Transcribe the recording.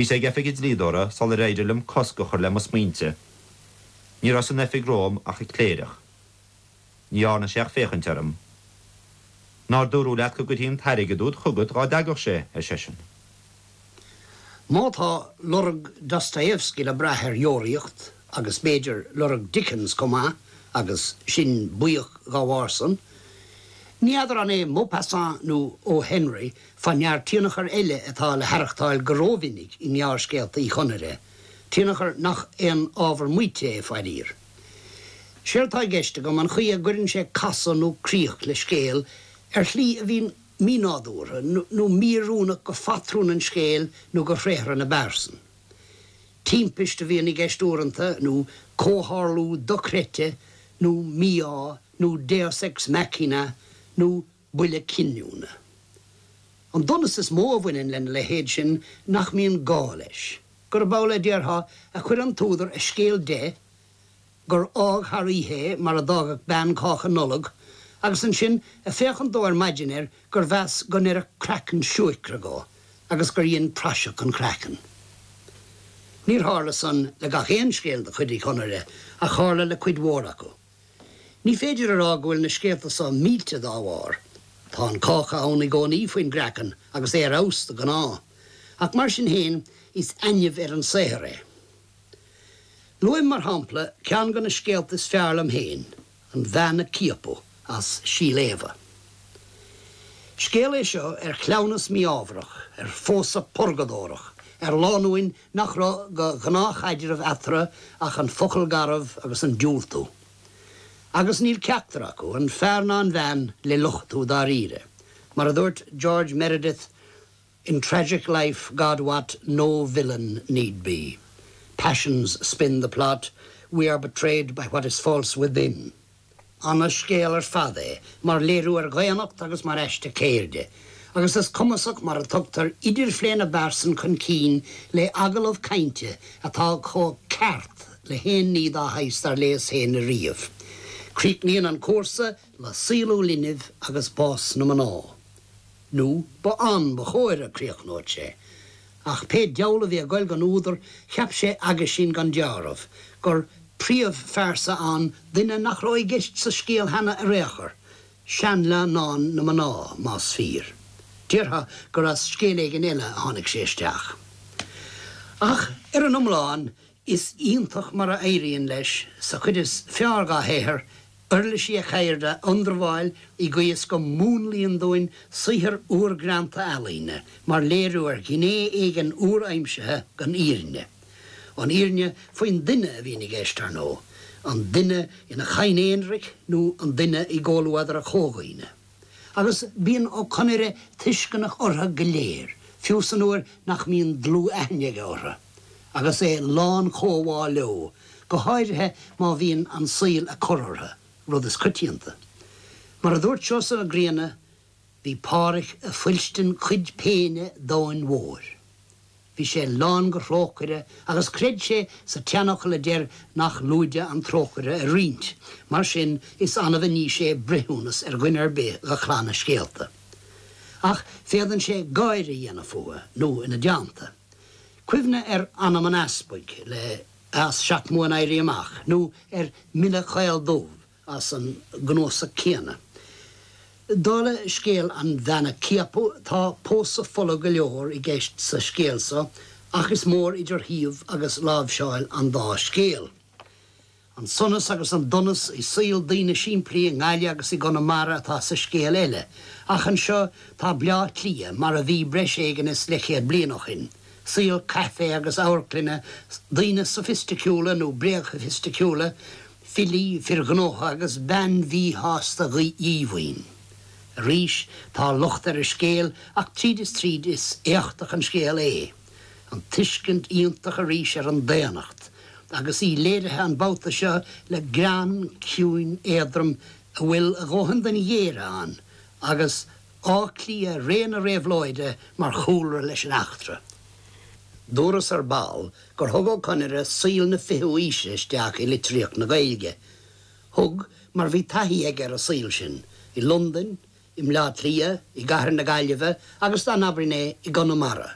Bhíos ag oifig an dlíodóra sular éirigh liom cosc a chur le mo smaointe. Ní raibh san oifig romham ach an cléireach. Ní dhearna sé ach féachaint orm. Nár dúradh leat go gcuirfí an t-airgead úd chugat dhá dtagadh sé? ar seisean. Má tá lorg Dostoevsky le brath ar Dheoraíocht, agus b'fhéidir lorg Dickens chomh maith, agus sinn buíoch dhá bharr san, ní fheadar an é Maupassant nó O. Henry fá ndear tionchar eile atá le haireachtáil go rómhinic i ngearrscéalta Uí Chonaire, tionchar nach aon ábhar maíte é, faraor. Séard tá i gceist agam an chaoi a gcuireann sé casadh nó críoch le scéal ar shlí a bhíonn mínádúrtha nó míoiriúnach go phatrún an scéil nó go thréithre na bpearsan. Timpist a bhíonn i gceist uaireanta, nó comhtharlú dochreidte, nó mí-ádh, nó deus ex machina, nó buille cinniúna. An donas is mó a bhaineann lena leithéid sin nach mbíonn gá leis, gurb amhlaidh, déarfá, a chuir an t-údar a scéal de, gur fhág thar oíche é mar a d'fhágfadh bean cáca Nollag, agus ansin, ag féachaint dó ar maidin air, gur mheas go n-oirfeadh craiceann siúicre dhó, agus gur dhein praiseach an chraicinn. Níor tharla san le gach aon scéal de chuid Uí Chonaire, ach tharla le cuid mhór acu. Ní féidir a rá go bhfuil na scéalta so millte dá bharr. Tá an cáca ann i gcónaí faoin gcraiceann, agus é ar fheabhas de ghnáth. Ach mar sin féin, is ainimh ar an saothar é. Luaim mar shampla ceann de na scéalta is fearr liom féin, An Bhean a Ciapadh, as Síol Éabha. Scéal é seo ar chleamhnas mí-ámharach, ar phósadh purgadórach, ar lánúin nach raibh de ghnáthchaidreamh eatarthu ach an focal garbh agus an diúltú. Agus níl ceachtar acu, an fear ná an bhean, le lochtú dáiríre. Mar a dúirt George Meredith, In tragic life, God wot, no villain need be. Passions spin the plot, we are betrayed by what is false within. Ana-scéal ar fad é, mar léiriú ar dhaonnacht agus mar aiste ceirde, agus is cumasach mar a tugtar idirphlé na bpearsan chun cinn le agallamh cainte atá chomh ceart le haon ní dá shaghas dar léas féin ariamh. Críochnaíonn an cúrsa le saolú linbh agus bás na mná. Nó ba ann ba chóir a críochnódh sé. Ach pé diabhal a bhí ag goil gon údar, cheap sé aguisín gan deáramh, gur príomhphearsa ann duine nach raibh i gceist sa scéal cheana ar aon chor, seanleannán na mná, más fíor. Déarfá gur as scéal éigin eile a tháinig sé isteach. Ach ar an iomlán, is iontach mar a éiríonn leis, sa chuid is fearr dhá shaothar, uirlisí a cheirde a ionramháil i gcaoi is go múnlaíonn dúinn saothar úr greanta ealaíne mar léiriú ar ghné éigin úr-aimsithe den fhírinne. An fhírinne faoin duine a bhíonn i gceist, ar ndóigh, an duine ina chadhain aonraic nó an duine i gcomhluadar a chomhdhaoine. Agus bíonn Ó Conaire tuisceanach orthu go léir, fiú san uair nach mbíonn dlúth-aithne aige orthu, agus é lán comhbhá leo, go háirithe má bhíonn an saol ag cur orthu, rud is coitianta. Mar a dúirt Seosamh Mac Grianna, bhí Pádhraic ag fuilstin cuid péine domhain mhóir. Bhí sé lán go thrócaire agus chreid sé sa tseanfhocal a deir nach lúide an trócaire a roinnt, mar sin is annamh a ní sé breithiúnas ar dhuine ar bith de chlann a scéalta. Ach féadann sé gáire a dhéanamh fúthu, nó ina dteannta. Cuimhnigh ar Anam an Easpaig le as Seacht mBuan-Éirí Amach, nó ar Mhille Caol Dubh as an gcnuasach céanna. Dála scéal An Bhean a Ciapadh, tá pósadh fola go leor i gceist sa scéal so, ach is mór idir shuíomh agus láimhseáil an dá scéal. An sonas agus an donas i saol daoine simplí i nGaillimh agus i gConamara atá sa scéal eile, ach anseo tá Bleá Cliath mar a bhí breis éigin is leathchéad bliain ó shin, saol caife agus amharclainne, daoine soifisticiúla nó bréagshoifisticiúla, filí, fir ghnótha agus bean mhíshásta dhíomhaoin. Arís, tá locht ar an scéal ach tríd is tríd is éachtach an scéal é. An tuiscint iontach arís ar an daonnacht, agus í léirithe an babhta seo le greann ciúin éadrom a bhfuil a dhóthain den ghéire ann, agus Áth Cliath ré na réabhlóide mar chúlra leis an eachtra. Dúras ar ball gur thug Ó Conaire saol na fichiú aoise isteach i litríocht na Gaeilge. Thug, mar bhí taithí aige ar an saol sin, i Londain, i mBleá Cliath, i gcathair na Gaillimhe agus dá n-abrainn é, i gConamara.